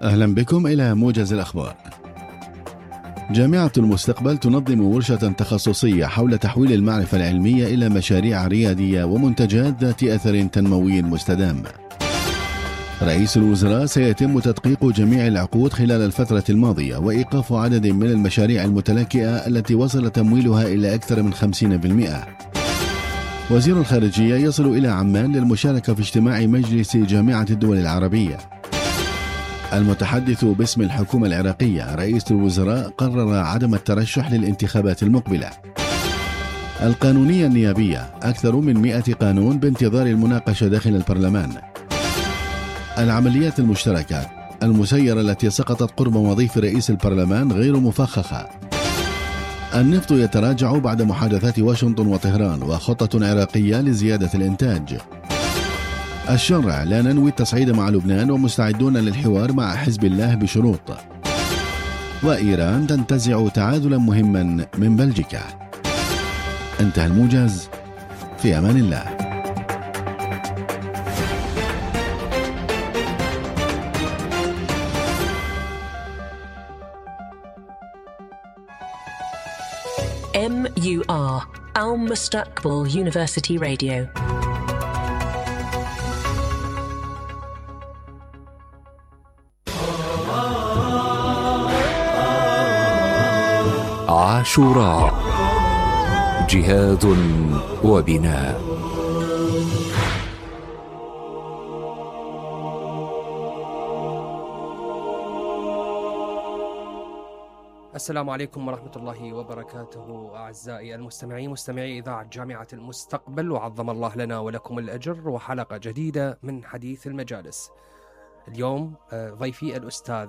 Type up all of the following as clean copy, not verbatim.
أهلا بكم إلى موجز الأخبار. جامعة المستقبل تنظم ورشة تخصصية حول تحويل المعرفة العلمية إلى مشاريع ريادية ومنتجات ذات أثر تنموي مستدام. رئيس الوزراء سيتم تدقيق جميع العقود خلال الفترة الماضية وإيقاف عدد من المشاريع المتلاكئة التي وصل تمويلها إلى أكثر من 50%. وزير الخارجية يصل إلى عمان للمشاركة في اجتماع مجلس جامعة الدول العربية. المتحدث باسم الحكومة العراقية رئيس الوزراء قرر عدم الترشح للانتخابات المقبلة. القانونية النيابية أكثر من 100 قانون بانتظار المناقشة داخل البرلمان. العمليات المشتركة المسيرة التي سقطت قرب وظيفة رئيس البرلمان غير مفخخة. النفط يتراجع بعد محادثات واشنطن وطهران وخطة عراقية لزيادة الإنتاج. الشرع لا ننوي التصعيد مع لبنان ومستعدون للحوار مع حزب الله بشروط. وإيران تنتزع تعادلا مهما من بلجيكا. انتهى الموجز، في أمان الله. MUR Al-Mustaqbal University Radio. عاشوراء، جهاد وبناء. السلام عليكم ورحمة الله وبركاته أعزائي المستمعين، مستمعي إذاعة جامعة المستقبل، وعظم الله لنا ولكم الأجر، وحلقة جديدة من حديث المجالس. اليوم ضيفي الأستاذ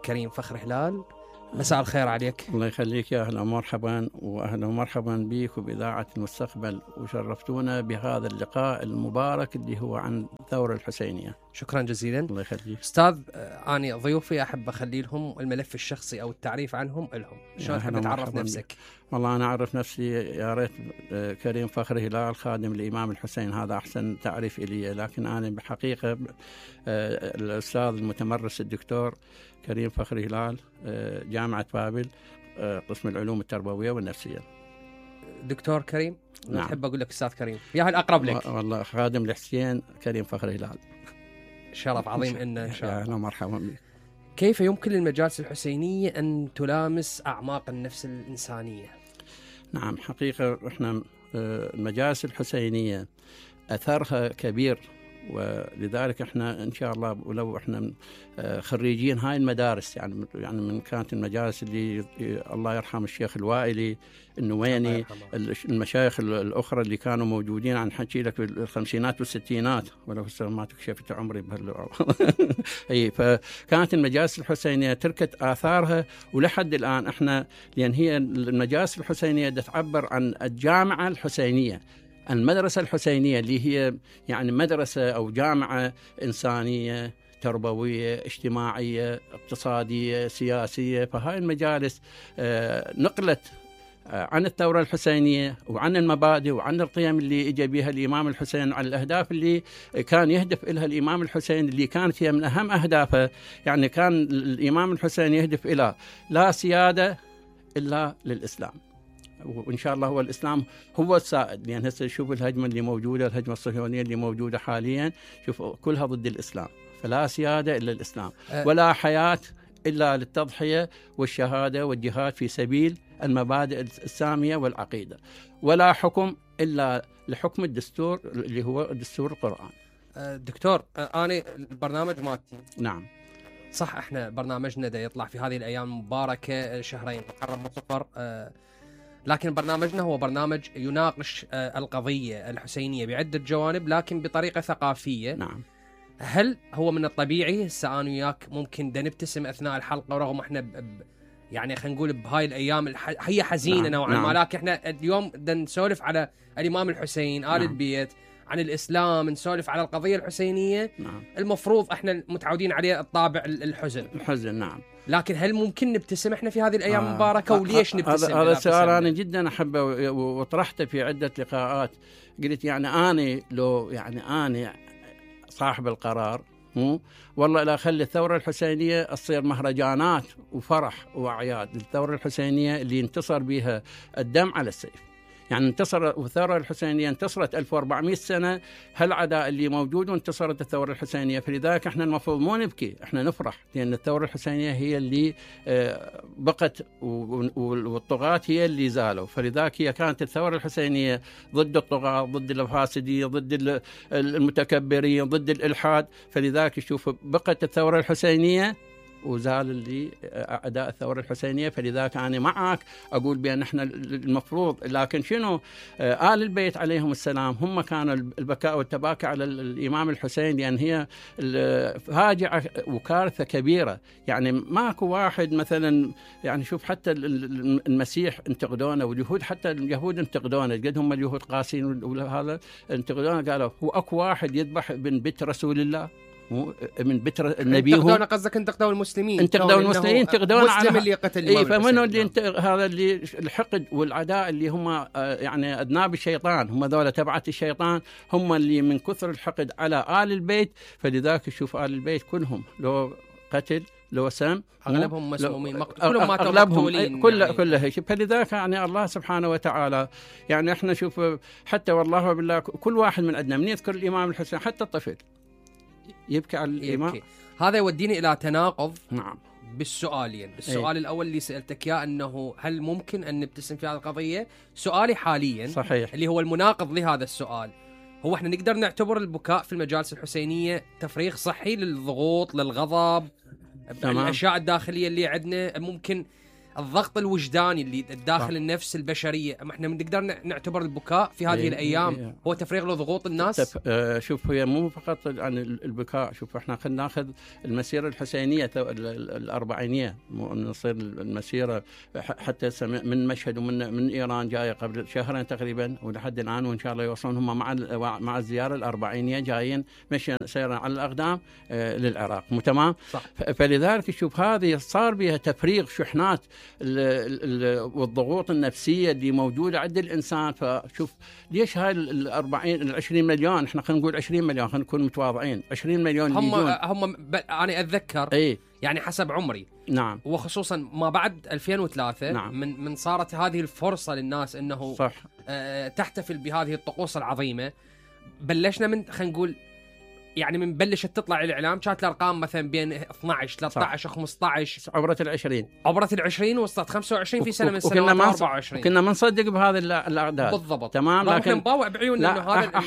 كريم فخر هلال. مساء الخير عليك. الله يخليك، يا أهلا ومرحبا، وأهلا ومرحبا بك وبإذاعة المستقبل، وشرفتونا بهذا اللقاء المبارك اللي هو عن الثورة الحسينية. شكرا جزيلا. الله يخليك أستاذ. أنا ضيوفي أحب أخلي لهم الملف الشخصي أو التعريف عنهم لهم. شلون تحب تعرف نفسك؟ والله أنا أعرف نفسي يا ريت كريم فخر هلال خادم الإمام الحسين، هذا أحسن تعريف إلي، لكن أنا بحقيقة الأستاذ المتمرس الدكتور كريم فخر هلال، جامعة بابل، قسم العلوم التربوية والنفسية. دكتور كريم؟ نعم. أحب أقول لك أستاذ كريم، يا الأقرب لك. والله خادم الحسين كريم فخر هلال. شرف عظيم إن شاء الله. أهلا ومرحبا بك. كيف يمكن للمجالس الحسينية أن تلامس أعماق النفس الإنسانية؟ نعم، حقيقة إحنا المجالس الحسينية أثرها كبير، ولذلك احنا ان شاء الله ولو احنا خريجين هاي المدارس، يعني من كانت المجالس اللي الله يرحم الشيخ الوائلي النويني، المشايخ الاخرى اللي كانوا موجودين، عن حكي لك بالخمسينات والستينات، ولو ما تكشفت عمري اي. فكانت المجالس الحسينيه تركت اثارها، ولحد الان احنا، لان هي المجالس الحسينيه تعبر عن الجامعه الحسينيه، المدرسة الحسينية، اللي هي يعني مدرسة أو جامعة إنسانية تربوية اجتماعية اقتصادية سياسية. فهاي المجالس نقلت عن الثورة الحسينية وعن المبادئ وعن القيم اللي اجى بها الإمام الحسين، عن الأهداف اللي كان يهدف إلها الإمام الحسين، اللي كانت هي من أهم أهدافه. يعني كان الإمام الحسين يهدف إلى لا سيادة إلا للإسلام، وإن شاء الله هو الإسلام هو السائد. لأن هسه شوف الهجمة اللي موجودة، الهجمة الصهيونية اللي موجودة حاليا، شوف كلها ضد الإسلام. فلا سيادة إلا الإسلام، ولا حياة إلا للتضحية والشهادة والجهاد في سبيل المبادئ السامية والعقيدة، ولا حكم إلا لحكم الدستور اللي هو دستور القرآن. دكتور، أنا البرنامج مالتي نعم صح، احنا برنامجنا دا يطلع في هذه الأيام المباركة، شهرين محرم وصفر، لكن برنامجنا هو برنامج يناقش القضية الحسينية بعدة جوانب، لكن بطريقة ثقافية. نعم. هل هو من الطبيعي هسه أنا وياك ممكن دا نبتسم أثناء الحلقة، ورغم احنا يعني خلينا نقول بهاي الأيام هي حزينة نوعا ما، لكن احنا اليوم دا نسولف على الإمام الحسين، آل البيت، عن الإسلام، نسولف على القضية الحسينية. المفروض احنا متعودين عليه الطابع الحزن. نعم. لكن هل ممكن نبتسم احنا في هذه الأيام المباركة؟ وليش نبتسم؟ هذا السؤال أنا جدا أحبه وطرحته في عدة لقاءات. قلت يعني أنا لو يعني أنا صاحب القرار، مو والله لا خلي الثورة الحسينية تصير مهرجانات وفرح وأعياد. الثورة الحسينية اللي انتصر بها الدم على السيف، يعني الثورة الحسينية انتصرت 1400 سنة، هالعداء اللي موجود وانتصرت الثورة الحسينية. فلذلك احنا المفروض مو نبكي، احنا نفرح، لأن الثورة الحسينية هي اللي بقت والطغاة هي اللي زالوا. فلذلك هي كانت الثورة الحسينية ضد الطغاة، ضد الفاسدين، ضد المتكبرين، ضد الإلحاد. فلذلك شوف بقت الثورة الحسينية وزال اللي أعداء الثورة الحسينية. فلذلك أنا معك أقول بأن إحنا المفروض، لكن شنو آل البيت عليهم السلام هم كانوا البكاء والتباكي على الإمام الحسين، لأن هي فاجعة وكارثة كبيرة. يعني ماكو واحد مثلا، يعني شوف حتى المسيح انتقدونه، واليهود حتى اليهود انتقدونه، قد هم اليهود قاسين وهذا انتقدونه، قالوا هو أكو واحد يذبح ابن بيت رسول الله من بتر النبي. انتقدون قصدك انتقدوا المسلمين، انتقدوا المسلمين، انتقدون مسلم اللي قتل الإمام فمنه اللي هذا اللي الحقد والعداء اللي هم يعني أذناب الشيطان، هم ذولا تبعت الشيطان، هم اللي من كثر الحقد على آل البيت. فلذلك شوف آل البيت كلهم لو قتل لو سم اغلبهم مسمومين كلهم ماتوا مقتولين كلها يعني. فلذلك يعني الله سبحانه وتعالى يعني احنا شوف حتى والله بالله كل واحد من عندنا من يذكر الإمام الحسين حتى الطفل يبكي على الإمام. هذا يوديني إلى تناقض نعم بالسؤالين. السؤال الأول اللي سألتك إياه أنه هل ممكن أن نبتسم في هذه القضية؟ سؤالي حاليا صحيح اللي هو المناقض لهذا السؤال، هو احنا نقدر نعتبر البكاء في المجالس الحسينية تفريغ صحي للضغوط، للغضب، الأشياء الداخلية اللي عندنا، ممكن الضغط الوجداني اللي الداخل النفس البشرية، احنا نقدر نعتبر البكاء في هذه الأيام هو تفريغ لضغوط الناس؟ شوف هي مو فقط عن البكاء. شوف احنا خلينا ناخذ المسيرة الحسينية الأربعينية، نصير المسيرة حتى من مشهد ومن إيران جاية قبل شهرين تقريبا ولحد الآن، وإن شاء الله يوصلون هم مع الزيارة الأربعينية جايين مشي سيرا على الأقدام للعراق. مو تمام؟ فلذلك شوف هذه صار بها تفريغ شحنات والضغوط النفسية اللي موجودة عند الإنسان. فشوف ليش هاي 20 مليون، احنا خلينا نقول 20 مليون، خلينا نكون متواضعين، 20 مليون هم أنا أتذكر يعني حسب عمري نعم، وخصوصا ما بعد 2003 نعم. من صارت هذه الفرصة للناس إنه صح. تحتفل بهذه الطقوس العظيمة. بلشنا من خلينا نقول يعني من بلشت تطلع الإعلام كانت الأرقام مثلا بين 12 13 15 عبرت ال20 وصلت 25 في سنة من السنوات 24. كنا ما نصدق بهذا الأعداد بالضبط. تمام، لكن نباوع بعيوننا إنه هذا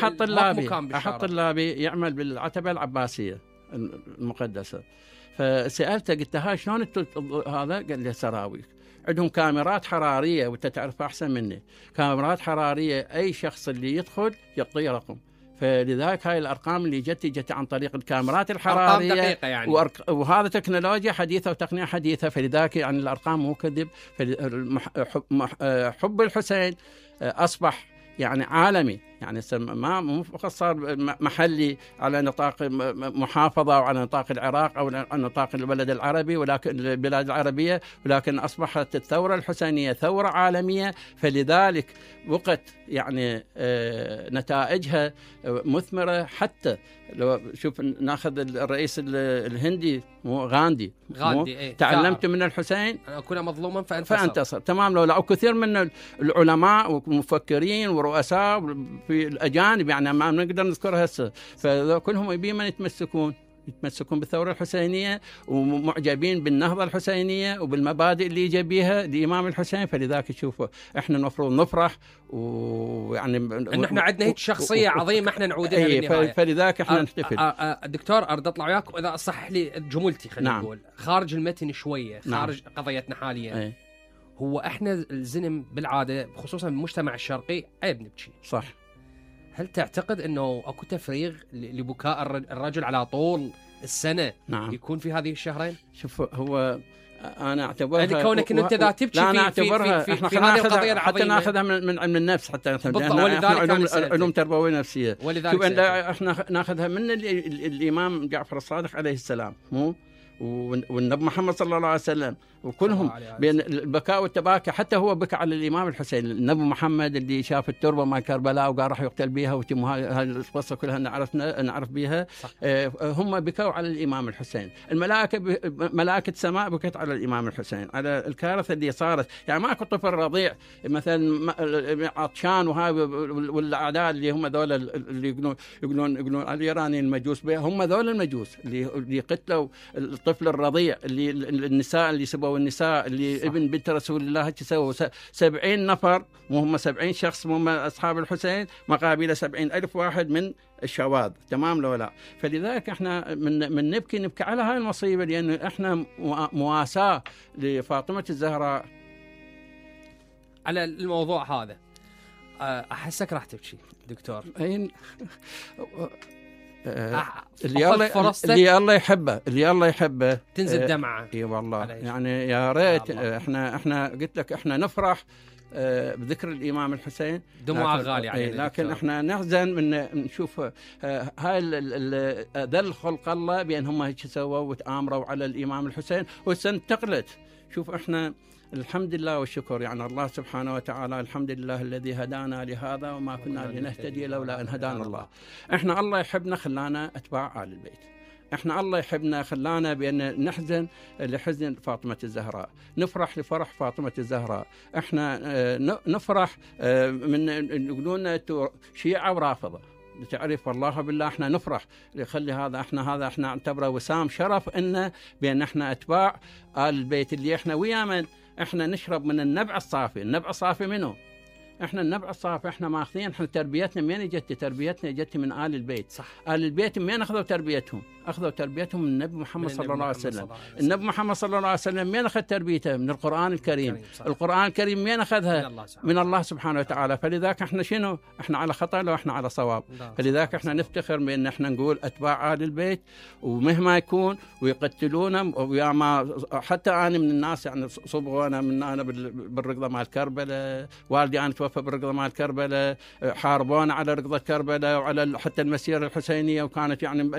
أحط اللابي يعمل بالعتبة العباسية المقدسة. فسألته قلت هاي شلون هذا؟ قال لي سراويل عندهم كاميرات حرارية، وانت تعرف أحسن مني، كاميرات حرارية أي شخص اللي يدخل يعطيه رقم. فلذلك هاي الأرقام اللي جت عن طريق الكاميرات الحرارية، أرقام دقيقة يعني. وهذا تكنولوجيا حديثة وتقنية حديثة. فلذلك يعني الأرقام مو كذب. حب الحسين أصبح يعني عالمي، يعني ما مو فقط صار محلي على نطاق محافظة أو على نطاق العراق أو على نطاق البلد العربي، ولكن البلاد العربية، ولكن أصبحت الثورة الحسينية ثورة عالمية. فلذلك وقت يعني نتائجها مثمرة. حتى لو شوف ناخذ الرئيس الهندي غاندي تعلمت من الحسين أنا أكون مظلوما فانتصر. تمام. لو كثير من العلماء ومفكرين ورؤساء في الأجانب يعني ما نقدر نذكرها هسه، فكلهم يبين من يتمسكون بالثورة الحسينية ومعجبين بالنهضة الحسينية وبالمبادئ اللي جاء بيها الإمام الحسين. فلذلك تشوفوا احنا المفروض نفرح، ويعني ان احنا عندنا هيك شخصية عظيمة احنا نعود لها بالنهاية. فلذلك احنا نحتفل. دكتور ارد اطلع وياك واذا اصح لي جملتي خلينا نقول خارج المتن شوية، خارج قضيتنا حاليا. هو احنا الزلم بالعادة خصوصا بالمجتمع الشرقي عيب نبكي، صح؟ هل تعتقد انه اكو تفريغ لبكاء الرجل على طول السنة يكون في هذه الشهرين؟ شوف هو انا اعتبرها يعني كونك انت ذا تبكي في هذه القضيه العظيمه حتى ناخذها من علم النفس، حتى علوم تربويه نفسيه. شوف احنا ناخذها من الامام جعفر الصادق عليه السلام، مو والنبي محمد صلى الله عليه وسلم وكلهم بين البكاء والتباكي. حتى هو بكى على الإمام الحسين. النبي محمد اللي شاف التربة مع كربلاء وقال راح يقتل بها، وتم هاي القصة كلها نعرف بها. هم بكوا على الإمام الحسين. ملائكة السماء بكت على الإمام الحسين، على الكارثة اللي صارت. يعني ماكو طفل رضيع مثلا عطشان وهاي، والأعداء اللي هم ذول اللي يقولون الإيرانيين المجوس بها، هم ذول المجوس اللي قتلوا الطفل الرضيع، اللي النساء اللي سبوا النساء، اللي صح. ابن بنت رسول الله سووا 70 نفر، مو هم 70 شخص، مو هم أصحاب الحسين، مقابل 70,000 واحد من الشواذ. تمام لو لا؟ فلذلك احنا من نبكي على هاي المصيبة، لأن احنا مواساة لفاطمة الزهراء على الموضوع هذا. أحسك راح تبكي دكتور. اللي الله يحبه تنزل دمعة. اي والله يعني يا ريت احنا قلت لك احنا نفرح بذكر الإمام الحسين، دموع غالية علينا، لكن احنا نحزن من نشوف هاي ذل خلق الله بأن هم هيك سووا وتآمروا على الإمام الحسين وسنتقلت. شوف احنا الحمد لله والشكر، يعني الله سبحانه وتعالى الحمد لله الذي هدانا لهذا وما كنا لنهتدي لولا أن هدانا الله. احنا الله يحبنا خلانا أتباع آل البيت، احنا الله يحبنا خلانا بأن نحزن لحزن فاطمة الزهراء، نفرح لفرح فاطمة الزهراء. احنا نفرح من يقولون شيعة ورافضة، تعرف والله بالله احنا نفرح لخلي هذا احنا نعتبره وسام شرف انه بان احنا اتباع آل البيت، اللي احنا ويا من احنا نشرب من النبع الصافي. النبع الصافي منه؟ احنا النبع الصافي احنا ماخذين. احنا تربيتنا من اجت؟ تربيتنا اجت من آل البيت. صح. آل البيت من اخذوا تربيتهم؟ اخذوا تربيتهم من النبي محمد صلى الله عليه وسلم. النبي محمد صلى الله عليه وسلم من اخذ تربيته؟ من القرآن الكريم. القرآن الكريم من اخذها؟ من الله سبحانه وتعالى. فلذلك احنا شنو؟ احنا على خطأ لو احنا على صواب. فلذلك احنا نفتخر بان احنا نقول اتباع آل البيت، ومهما يكون ويقتلونا. ويا ما حتى انا من الناس يعني صبغوا انا بالرقضه مال كربلاء، والدي انا توفى بالرقضه مال كربلاء، حاربونا على رقضه كربلاء وعلى حتى المسيره الحسينيه، وكانت يعني